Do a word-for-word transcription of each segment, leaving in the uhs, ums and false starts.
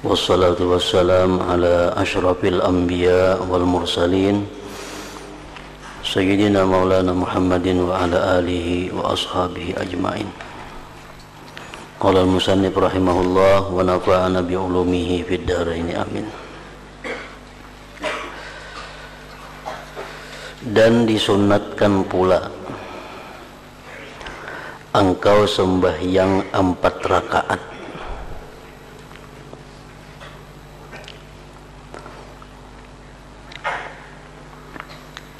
Wassalatu wassalam ala asyrafil anbiya wal mursalin, Sayyidina Maulana Muhammadin wa ala alihi wa ashabihi ajmain. Qala al-musannif rahimahullah wa nafa'ana bi ulumihi fid daraini, amin. Dan disunatkan pula engkau sembahyang empat rakaat.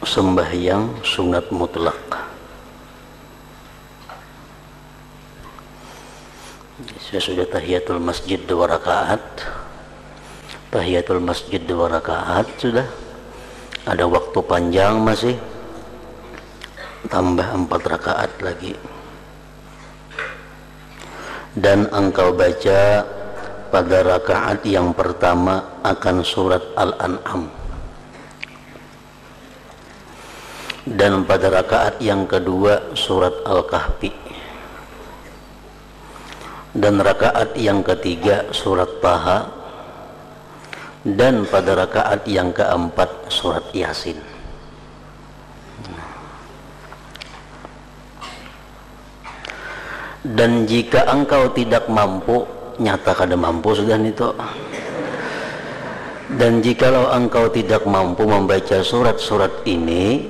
Sembahyang sunat mutlak. Sesudah tahiyatul masjid dua rakaat, tahiyatul masjid dua rakaat sudah, ada waktu panjang masih, tambah empat rakaat lagi. Dan engkau baca pada rakaat yang pertama akan surat Al-An'am. Dan pada rakaat yang kedua surat Al-Kahfi. Dan rakaat yang ketiga surat Taha. Dan pada rakaat yang keempat surat Yasin. Dan jika engkau tidak mampu, nyata kada mampu sudah nitu. Dan jikalau engkau tidak mampu membaca surat-surat ini,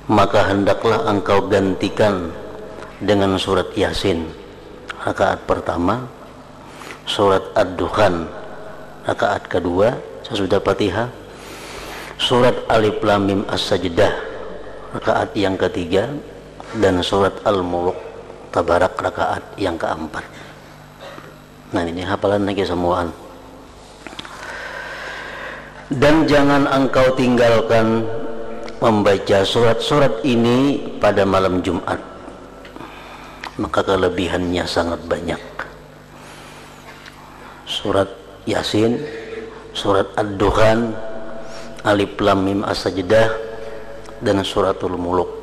maka hendaklah engkau gantikan dengan surat Yasin rakaat pertama, surat Ad-Dukhan rakaat kedua sesudah Fatihah, surat Alif Lam Mim As-Sajdah rakaat yang ketiga, dan surat Al-Muluk Tabarak rakaat yang keempat. Nah, ini hafalan lagi semuaan. Dan jangan engkau tinggalkan membaca surat-surat ini pada malam Jumat. Maka kelebihannya sangat banyak. Surat Yasin, surat Ad-Dukhan, Alif Lam Mim As-Sajdah, dan Suratul Muluk.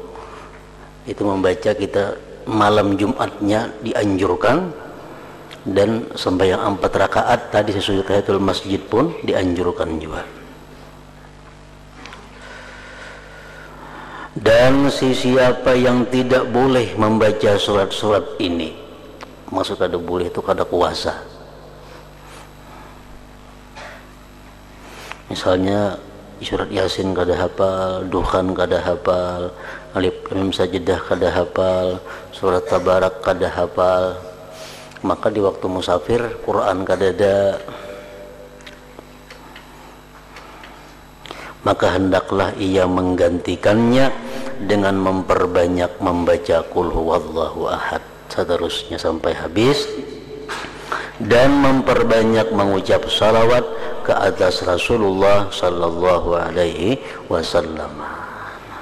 Itu membaca kita malam Jumatnya dianjurkan, dan sembahyang empat rakaat tadi sesudah tahiyatul masjid pun dianjurkan juga. Dan sesiapa yang tidak boleh membaca surat-surat ini, maksud kada boleh itu kada kuasa. Misalnya surat Yasin kada hafal, Dukhan kada hafal, Alif Lam Mim Sajdah kada hafal, surat Tabarak kada hafal, maka di waktu musafir Quran kadada, maka hendaklah ia menggantikannya dengan memperbanyak membaca Qul Huwallahu Ahad, seterusnya sampai habis, dan memperbanyak mengucap salawat ke atas Rasulullah sallallahu alaihi wasallam.